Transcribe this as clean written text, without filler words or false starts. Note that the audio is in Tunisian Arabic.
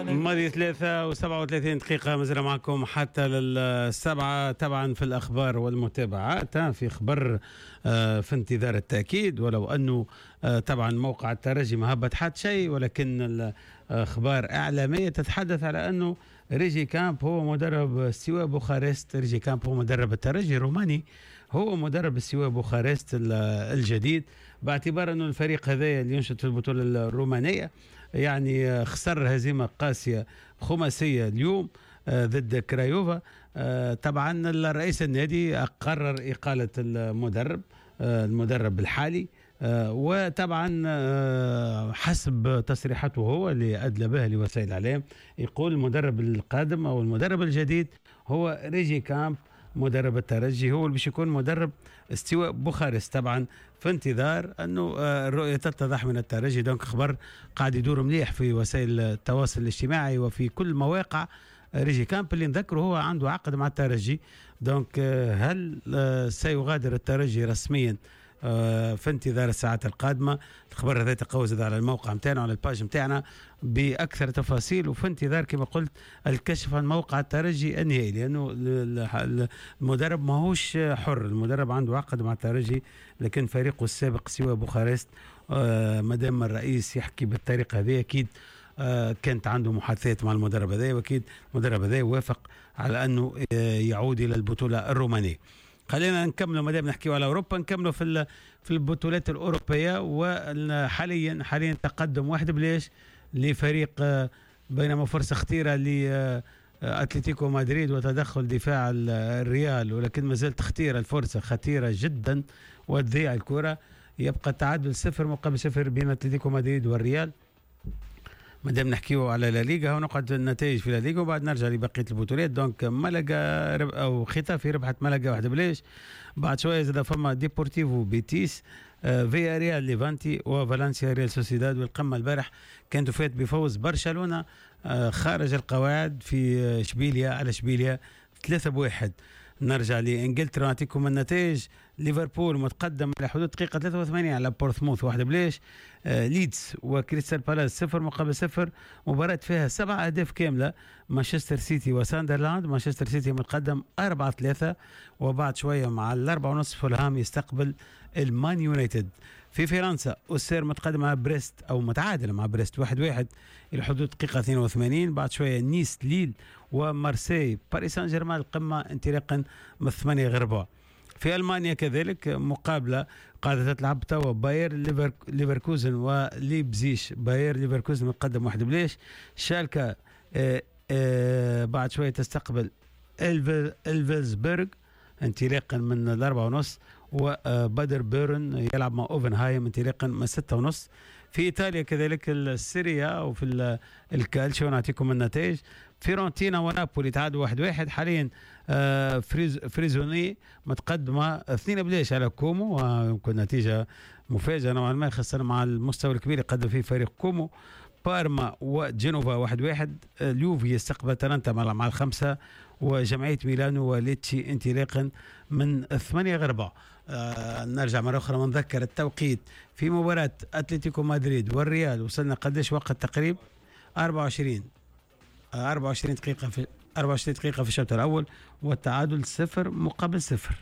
ماضي 3:37، مازلنا معكم حتى لل7. طبعا في الأخبار والمتابعات، في خبر في انتظار التأكيد، ولو أنه طبعا موقع الترجي ما هبط حتى شيء، ولكن الأخبار إعلامية تتحدث على أنه ريجي كامب هو مدرب ستيوا بوخارست. ريجي كامب هو مدرب الترجي الروماني، هو مدرب ستيوا بوخارست الجديد، باعتبار أنه الفريق هذا اللي ينشط في البطولة الرومانية يعني خسر هزيمة قاسية خماسية اليوم ضد كرايوفا. طبعا الرئيس النادي قرر إقالة المدرب الحالي، وطبعا حسب تصريحاته هو اللي أدلى بها لوسائل الإعلام، يقول المدرب القادم أو المدرب الجديد هو ريجي كامب مدرب الترجي، هو اللي باش يكون مدرب ستيوا بوخارست. طبعا في انتظار انه الرؤية تتضح من الترجي. donc خبر قاعد يدور مليح في وسائل التواصل الاجتماعي وفي كل مواقع. ريجي كامب اللي نذكره هو عنده عقد مع الترجي، donc هل سيغادر الترجي رسميا؟ في انتظار الساعات القادمة. الخبر هذا تلقاوه زاد على الموقع نتاعنا، على ال page نتاعنا بأكثر تفاصيل، وفي انتظار كما قلت الكشف عن موقع الترجي النهائي، لأنه المدرب ماهوش حر، المدرب عنده عقد مع الترجي، لكن فريقه السابق ستيوا بوخارست مادام الرئيس يحكي بالطريقة هذه أكيد كانت عنده محادثات مع المدرب هذا، واكيد المدرب هذا وافق على انه يعود الى البطولة الرومانيه. خلينا نكملوا، ما دام نحكيو على اوروبا نكملوا في البطولات الاوروبيه. وحاليا حاليا تقدم 1-0 لفريق بينما فرصة خطيرة ل اتلتيكو مدريد وتدخل دفاع الريال، ولكن ما زالت خطيرة الفرصه، خطيرة جدا وتضيع الكره. يبقى التعادل 0-0 بين اتلتيكو مدريد والريال. ما دام نحكيو على لا ليغا ونقعد النتائج في لا ليغا وبعد نرجع لبقية البطولات. donc ملقا او ختافي ربحت ملقا 1-0. بعد شوية زاد فما ديبورتيفو بيتيس، فيا ريال ليفانتي، وفالنسيا ريال سوسيداد. والقمه البارح كانت فات بفوز برشلونة خارج القواعد في اشبيليا على اشبيليا 3-1. نرجع لانجلترا نعطيكم النتائج. ليفربول متقدم على حدود دقيقة 83 على بورتسموث 1-0. ليدز وكريستال بالاس 0-0، مباراة فيها 7 أهداف كاملة. مانشستر سيتي وساندرلاند، مانشستر سيتي متقدم 4-3. وبعد شوية مع 4:30 فولهام يستقبل المان يونايتد. في فرنسا أوسير متقدم على بريست أو متعادل مع بريست 1-1 إلى حدود دقيقة 82. بعد شوية نيس ليل ومارسي باريس سان جيرمان، القمة انطلاقا من 7:45. في المانيا كذلك مقابله قاعدة تلعب توا، باير ليفركوزن وليبزيش، باير ليفركوزن متقدم 1-0. شالكا بعد شوية تستقبل الفلسبرغ انطلاقا من 4:30، وبادر بيرن يلعب مع اوفنهايم انطلاقا من 6:30. في ايطاليا كذلك السيريا وفي الكالتشيو نعطيكم النتائج. فيرونتينا ونابولي تعادلوا 1-1. حاليا فريزوني متقدمة 2-0 على كومو، ويمكن نتيجة مفاجأة نوعا ما خاصة مع المستوى الكبير اللي قدم فيه فريق كومو. بارما وجنوفا 1-1. اليوفي يستقبل أتالانتا مع 5، وجمعية ميلانو وليتشي انطلاقا من 7:45. نرجع مرة أخرى ونذكر التوقيت في مباراة أتلتيكو مدريد والريال، وصلنا قداش وقت تقريب؟ 24 دقيقة، في 24 دقيقة في الشوط الأول، والتعادل 0-0.